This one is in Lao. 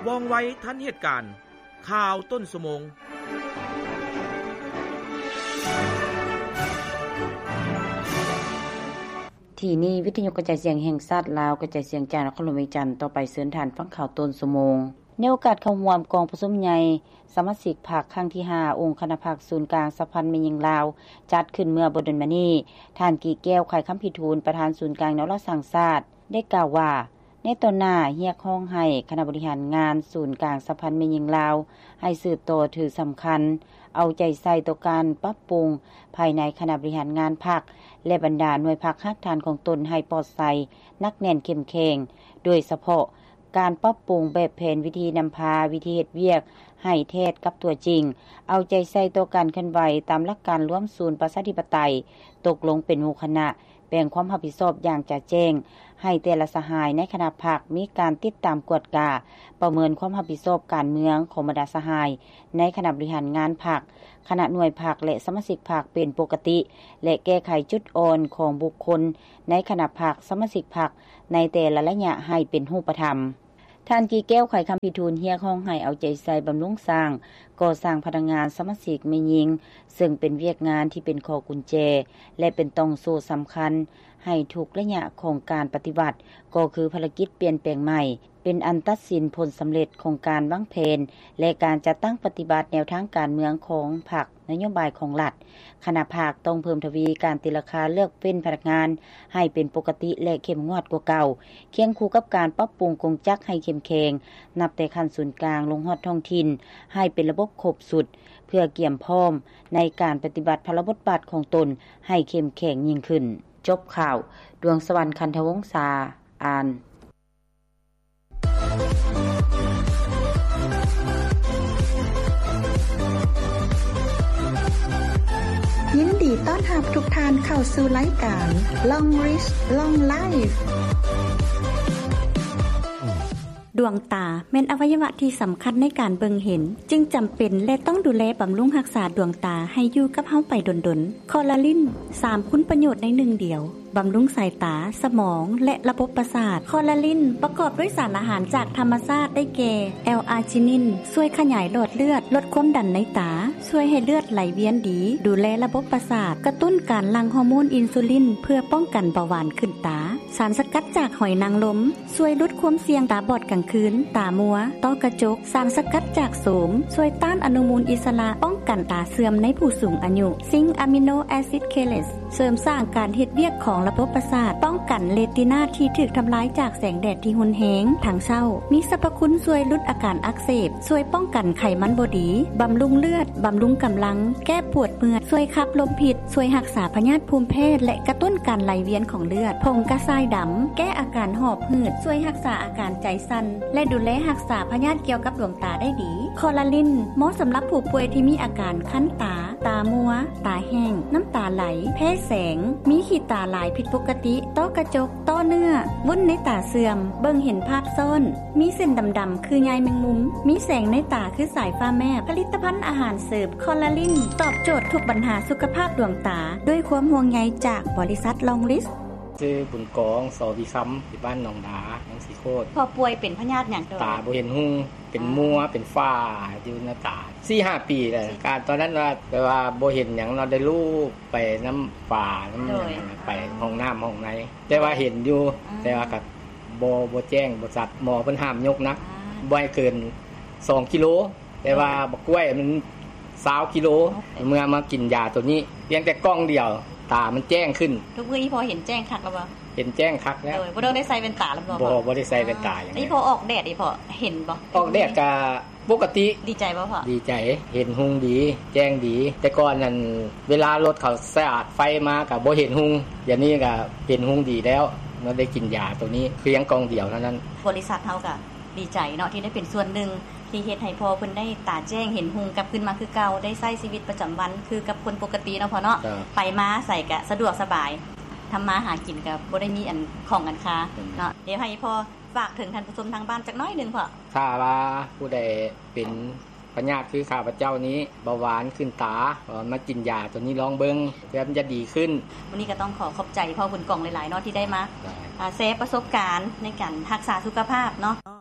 ວ່ອງໄວທັນເຫດການ. ຂ່າວຕົ້ນຊົ່ວໂມງ. ທີ່ນີ້ ວິທະຍຸກະຈາຍສຽງແຫ່ງຊາດລາວ ກະຈາຍສຽງຈາກນະຄອນຫຼວງວຽງຈັນ. ຕໍ່ໄປເຊີນທ່ານຟັງຂ່າວຕົ້ນຊົ່ວໂມງ. ໃນໂອກາດເຂົ້າຮ່ວມກອງປະຊຸມໃຫຍ່ສະມາຊິກພັກຄັ້ງທີຫ້າ ອົງຄະນະພັກສູນກາງສະຫະພັນແມ່ຍິງລາວ ຈັດຂຶ້ນເມື່ອບໍ່ດົນມານີ້, ທ່ານ ກີແກ້ວ ໄຂຄຳພິທູນ ປະທານສູນກາງແນວລາວສ້າງຊາດ ໄດ້ກ່າວວ່າ ໃນຕໍ່ໜ້າຮຽກຮ້ອງໃຫ້ຄະນະບໍລິຫານງານສູນກາງສະຫະພັນແມ່ຍິງລາວ ໃຫ້ສືບຕໍ່ຖືສຳຄັນ ເອົາໃຈໃສ່ຕໍ່ການປັບປຸງພາຍໃນຄະນະບໍລິຫານງານພັກ ແລະ ບັນດາໜ່ວຍພັກຮາກຖານຂອງຕົນໃຫ້ປອດໃສ, ໜັກແໜ້ນ, ເຂັ້ມແຂງ, ໂດຍສະເພາະການປັບປຸງແບບແຜນວິທີນຳພາ, ວິທີເຮັດວຽກໃຫ້ແທດກັບຕົວຈິງ, ເອົາໃຈໃສ່ຕໍ່ການເຄື່ອນໄຫວຕາມຫຼັກການລວມສູນປະຊາທິປະໄຕ, ຕົກລົງເປັນໝູ່ຄະນະ, ແບ່ງຄວາມຮັບຜິດຊອບຢ່າງຈະແຈ້ງ ໃຫ້ແຕ່ລະສະຫາຍໃນຄະນະພັກມີການຕິດຕາມກວດກາ, ປະເມີນຄວາມຮັບຜິດຊອບການເມືອງຂອງບັນດາສະຫາຍໃນຄະນະບໍລິຫານງານພັກ, ຄະນະໜ່ວຍພັກ ແລະ ສະມາຊິກພັກເປັນປົກກະຕິ ແລະ ແກ້ໄຂຈຸດອ່ອນຂອງບຸກຄົນໃນຄະນະພັກ, ສະມາຊິກພັກໃນແຕ່ລະໄລຍະໃຫ້ເປັນຮູບປະທຳ. ທ່ານ ກີແກ້ວ ໄຂຄຳພິທູນ ຮຽກຮ້ອງໃຫ້ເອົາໃຈໃສ່ບຳລຸງສ້າງ, ກໍ່ສ້າງພະນັກງານ, ສະມາຊິກແມ່ຍິງ ເຊິ່ງເປັນວຽກງານທີ່ເປັນຂໍ້ກຸນແຈ ແລະ ເປັນຕ່ອງໂສ້ສຳຄັນໃຫ້ທຸກໄລຍະຂອງການປະຕິວັດ, ກໍຄືພາລະກິດປ່ຽນແປງໃໝ່ ເປັນອັນຕັດສິນຜົນສຳເລັດຂອງການວາງແຜນ ແລະ ການຈັດຕັ້ງປະຕິບັດແນວທາງການເມືອງຂອງພັກ, ນະໂຍບາຍຂອງລັດ. ຄະນະພັກຕ້ອງເພີ່ມທະວີການຕີລາຄາເລືອກເວັ້ນພະນັກງານໃຫ້ເປັນປົກກະຕິ ແລະ ເຂັ້ມງວດກວ່າເກົ່າ, ຄຽງຄູ່ກັບການປັບປຸງກົງຈັກໃຫ້ເຂັ້ມແຂງ, ນັບແຕ່ຂັ້ນສູນກາງລົງຮອດທ້ອງຖິ່ນ ໃຫ້ເປັນລະບົບຄົບຊຸດ, ເພື່ອກຽມພ້ອມໃນການປະຕິບັດພາລະບົດບາດຂອງຕົນໃຫ້ເຂັ້ມແຂງຍິ່ງຂຶ້ນ. ຈົບຂ່າວ. ດວງສະຫວັນ ຄັນທະວົງສາ ອ່ານ. ຍິນດີຕ້ອນຮັບທຸກທ່ານເຂົ້າສູ່ລາຍການ Long Reach Long Life. ດວງຕາແມ່ນອະໄວຍະວະທີ່ສຳຄັນໃນການເບິ່ງເຫັນ, ຈຶ່ງຈຳເປັນ ແລະ ຕ້ອງດູແລບຳລຸງຮັກສາດວງຕາໃຫ້ຢູ່ກັບເຮົາໄປດົນໆ. ຄໍລາລິນ ສາມຄຸນປະໂຫຍດໃນໜຶ່ງດຽວ. ບຳລຸງສາຍຕາ, ສະໝອງ ແລະ ລະບົບປະສາດ. ຄໍລາລິນປະກອບດ້ວຍສານອາຫານຈາກທຳມະຊາດໄດ້ແກ່ ແອລອາຈິນິນ ຊ່ວຍຂະຫຍາຍຫຼອດເລືອດ, ລົດຄວາມດັນໃນຕາ, ຊ່ວຍໃຫ້ເລືອດໄຫຼວຽນດີ, ດູແລລະບົບປະສາດ, ກະຕຸ້ນການຫຼັ່ງຮໍໂມນອິນຊູລິນ ເພື່ອປ້ອງກັນເບົາຫວານຂຶ້ນຕາ. ສານສະກັດຈາກຫອຍນາງລົມ ຊ່ວຍຫຼຸດຄວາມສ່ຽງຕາບອດກາງຄືນ, ຕາມົວ, ຕ້ອກະຈົກ. ສານສະກັດຈາກໂສມ ຊ່ວຍຕ້ານອະນຸມູນອິດສະລະ, ປ້ອງກັນຕາເສື່ອມໃນຜູ້ສູງອາຍຸ. ຊິງອາມິໂນແອຊິດເຄເລດ ເສີມສ້າງການເຮັດວຽກຂອງລະບົບປະສາດ, ປ້ອງກັນເຣຕີນາທີ່ຖືກທຳລາຍຈາກແສງແດດທີ່ຮຸນແຮງທັງເຊົ້າ. ມີສັບພະຄຸນຊ່ວຍຫຼຸດອາການອັກເສບ, ຊ່ວຍປ້ອງກັນໄຂມັນບໍ່ດີ, ບຳລຸງເລືອດ, ບຳລຸງກຳລັງ, ແກ້ປວດເມື່ອຍ, ຊ່ວຍຂັບລົມພິດ, ຊ່ວຍຮັກສາພະຍາດພູມແພ້ ແລະ ກະຕຸ້ນການໄຫຼວຽນຂອງເລືອດ. ຜົງກະຊາຍດຳ ແກ້ອາການຫອບ ຫືດ, ຊ່ວຍຮັກສາອາການໃຈສັ່ນ ແລະ ດູແລຮັກສາພະຍາດກ່ຽວກັບດວງຕາໄດ້ດີ. ຄໍລາລິນ ເໝາະສຳລັບຜູ້ປ່ວຍທີ່ມີອາການຄັນຕາ, ຕາມົວ, ຕາແຫ້ງ, ນ້ຳຕາໄຫຼ, ແພ້ແສງ, ມີຂີ້ຕາຫຼາຍຜິດປົກກະຕິ, ຕ້ອກະຈົກ, ຕ້ອເນື້ອ, ວຸ້ນໃນຕາເສື່ອມ, ເບິ່ງເຫັນພາບຊ້ອນ, ມີເສັ້ນດຳໆຄືໃຍແມງມຸມ, ມີແສງໃນຕາຄືສາຍຟ້າແມບ. ຜະລິດຕະພັນອາຫານເສີມຄໍລາລິນ ຕອບໂຈດທຸກບັນຫາສຸຂະພາບດວງຕາ ດ້ວຍຄວາມຫ່ວງໃຍຈາກບໍລິສັດລອງລິສ. ຊື່ບຸນກອງ ສໍວິຄຳ ຢູ່ບ້ານໜອງດາ ເມືອງສີໂຄດ. ພໍ່ປ່ວຍເປັນພະຍາດຫຍັງ? ຕາບໍ່ເຫັນຮຸ່ງ ເປັນມົວ ເປັນຝ້າຢູ່ໃນຕາ ສີ່ຫ້າປີແລ້ວ. ການຕອນນັ້ນວ່າ ແບບວ່າບໍ່ເຫັນຫຍັງເນາະ ໄດ້ລູບໄປນຳຝານຳຫຍັງ ໄປຫ້ອງນ້ຳຫ້ອງໃນ ແຕ່ວ່າເຫັນຢູ່ ແຕ່ວ່າກໍບໍ່ ບໍ່ແຈ້ງ ບໍ່ຊັດ. ໝໍເພິ່ນຫ້າມຍົກໜັກ ບໍ່ໃຫ້ເກີນສອງກິໂລ. ແຕ່ວ່າບັກກ້ວຍມັນຊາວກິໂລ. ເມື່ອມາກິນຢາໂຕນີ້ ພຽງແຕ່ກ່ອງດຽວ ຕາມັນແຈ້ງຂຶ້ນ. ທຸກມື້ນີ້ພໍ່ເຫັນແຈ້ງຄັກແລ້ວບໍ່? ເຫັນແຈ້ງຄັກແລ້ວ. ໂດຍ ບໍ່ຕ້ອງໄດ້ໃສ່ແວ່ນຕາແລ້ວບໍ່? ບໍ່ ບໍ່ໄດ້ໃສ່ແວ່ນຕາຫຍັງ. ນີ້ພໍ່ອອກແດດນີ້ພໍ່ເຫັນບໍ່? ອອກແດດກະປົກກະຕິ. ດີໃຈບໍ່ພໍ່? ດີໃຈ ເຫັນຮຸ່ງດີ ແຈ້ງດີ. ແຕ່ກ່ອນນັ້ນ ເວລາລົດເຂົາສະຕາດໄຟມາກະບໍ່ເຫັນຮຸ່ງ. ດຽວນີ້ກະເຫັນຮຸ່ງດີແລ້ວ ເມື່ອໄດ້ກິນຢາໂຕນີ້ ພຽງກ່ອງດຽວເທົ່ານັ້ນ. ບໍລິສັດເຮົາກະ ດີໃຈເນາະ ທີ່ໄດ້ເປັນສ່ວນໜຶ່ງ ທີ່ເຮັດໃຫ້ພໍ່ເພິ່ນໄດ້ຕາແຈ້ງເຫັນຮຸ່ງກັບຄືນມາຄືເກົ່າ ໄດ້ໃຊ້ຊີວິດປະຈຳວັນຄືກັບຄົນປົກກະຕິເນາະພໍ່ເນາະ. ໄປມາໃສກະສະດວກສະບາຍ ທຳມາຫາກິນກະບໍ່ໄດ້ມີອັນຂ້ອງອັນຄາເນາະ. ດຽວໃຫ້ພໍ່ຝາກເຖິງທ່ານຜູ້ຊົມທາງບ້ານຈັກໜ້ອຍໜຶ່ງພໍ່. ຖ້າວ່າຜູ້ໃດເປັນພະຍາດຄືຂ້າພະເຈົ້ານີ້ ເບົາຫວານຂຶ້ນຕາ ມາກິນຢາໂຕນີ້ລອງເບິ່ງ ເພື່ອມັນຈະດີຂຶ້ນ. ມື້ນີ້ກໍຕ້ອງຂໍຂອບໃຈພໍ່ບຸນກອງຫຼາຍໆເນາະ ທີ່ໄດ້ມາ ອ່າ ແຊປະສົບການໃນການຮັກສາສຸຂະພາບເນາະ.